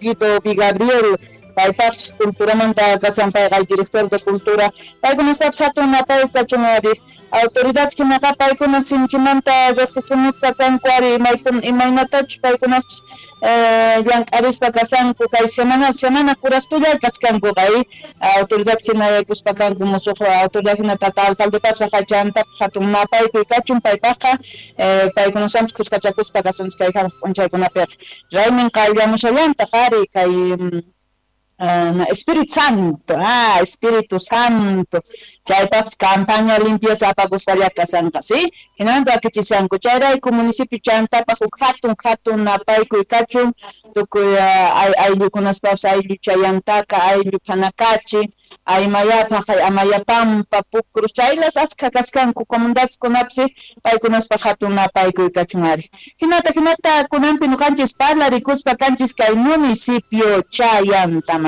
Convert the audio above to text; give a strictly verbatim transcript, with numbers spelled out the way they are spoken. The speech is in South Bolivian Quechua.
Guido Vigabriel, paypaqpis culturamanta kashan, payqa director de cultura, paykunaspapis hatun napaykuy kachun ari. Autoridades hinaqa paykuna sinchimanta riqsichimuspa kanku ari, imaynatachus paykunaspis llank'arispa kashanku kay semana semana kuraqtulla kachkankuqa, autoridad hina yaykuspa kanku musuq autoridad hina tata alcaldepapis chantapis hatun napaykuy kachun paypaqqa, paykunaswanpis khuskachakuspa kasunchis kay hamuq p'unchaykunapiqa. Raymin qayllamushallantaq ari kay Espíritu Santo, ah, Espíritu Santo, chaypaqpis campaña limpieza apakuspalla kashanqa, sí, hinamanta wakichishanku, chayrayku municipio chantapaq huk hatun hatun napaykuy kachun, tukuy ayllukunaspapis ayllu chayantaka, ayllu phanakachi, aymayapaq, amayapampa, Pucruz, chaylas askha kaskanku comunidadeskunapis paykunaspaq hatun napaykuy kachun ari. Hinata hinata kunanpi ñuqanchis parlarikuspa kanchis kay municipio Chayantaman.